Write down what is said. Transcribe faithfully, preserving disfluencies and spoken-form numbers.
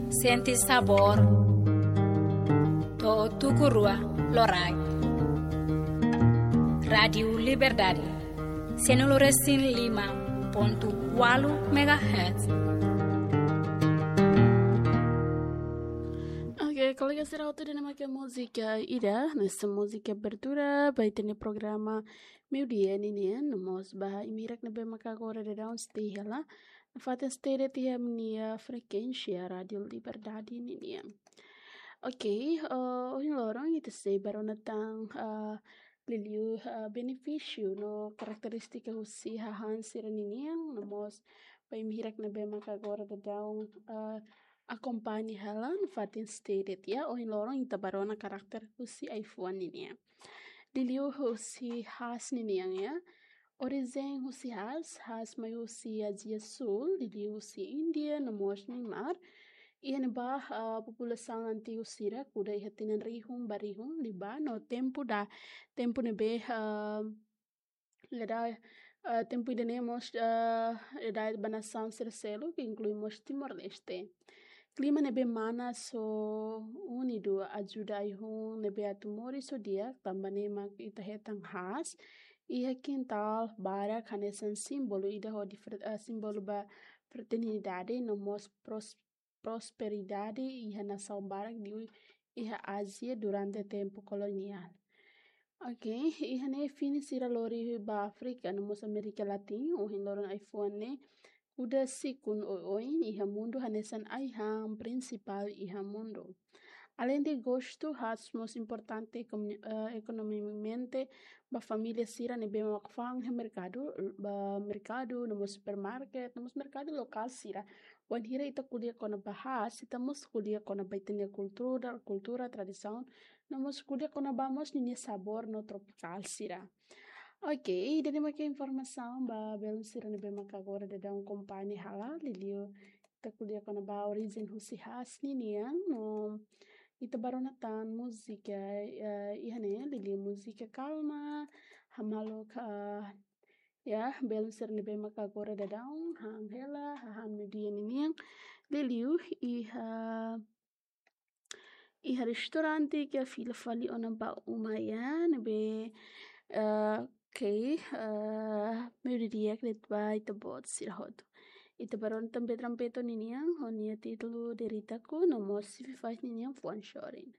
Sente sabór. To'o tuku rua loraik. Rádiu Liberdade, cento e cinco e cinco ponto cuatro megahertz. Oke, kolega sira hotu, ida-ne'e mak múzika ida, hanesan múzika abertura ba ita-nia programa meiudia ninian, no mós ba imi hirak ne'ebé maka agora daudaun sei hela nafatin sei de'it iha ami-nia frekuénsia Rádiu Liberdade ninian. Oke, eh, ohin loron ita sei bá rona tan, eh, liuliu, eh, benefísiu no karakterístika husi hahán sira ninian, no mós ba imi hirak ne'ebé maka agora daudaun, eh, akompaña hela nafatin sei de'it, ya. Ohin loron ita bá rona karakter husi ai-fuan ninian. Liuliu husi haás ninian, ya. Orijen husi haás, haás mai husi Ázia Súl, liuliu husi Índia, no mós Mianmar. Iha ne'ebá, ah, populasaun antigu sira kuda iha tinan rihun ba rihun liubá no tempu da, tempu ne'ebé, ah, lada, ah, tempu ida-ne'e mós, ah, lada ba nasaun sira seluk, ke inklui mós Timor-Leste. Klima ne'ebé manas no úmidu ajuda ai-hun ne'ebé atu moris ho di'ak, tanba ne'e mak ita hetan haás iha kintál barak hanesan símbolu ida hodi fer-, ah, símbolu ba fertilidade no mós pros-, prosperidade iha nasaun barak liu iha Ázia durante tempu koloniál. Oke, iha ne'e fini sira lori ba Áfrika no mós Amérika Latina, ohin loron ai-fuan ne'e kuda sikun oioin iha mundu hanesan ai-han prinsipál iha mundu. Aleinde gostu, haás mós importante ekonomi-, eh, ekonomikamente ba família sira ne'ebé mak fa'an iha merkadu, ba merkadu, no mós supermarket, no mós merkadu lokál sira. Wainhira ita ko'alia kona-ba haás, ita mós ko'alia kona-ba ita-nia kultura, kultura, tradisaun, no mós ko'alia kona-ba mós ninia sabór no tropikál sira. Oke, ida-ne'e mak informasaun ba belun sira ne'ebé maka agora daudaun akompaña hela, liuliu ita ko'alia kona-ba orijen husi haás ninian, no ita bá rona tan múzika, eh, iha ne'e, liuliu múzika kalma, hamaluk, eh, ya, belun sira ne'ebé maka agora daudaun han hela hahán meiudia ninian, liuliu iha, iha restaurante ka fila fali ona ba uma, ya, ne'ebé, eh, oke, eh, meiudia di'ak de'it ba ita-boot sira hotu. Ita bá rona tan Betrampeto ninian, ho nia títulu De'it Ita-ku, no mós Sifi Faz ninian Fuan Sorin.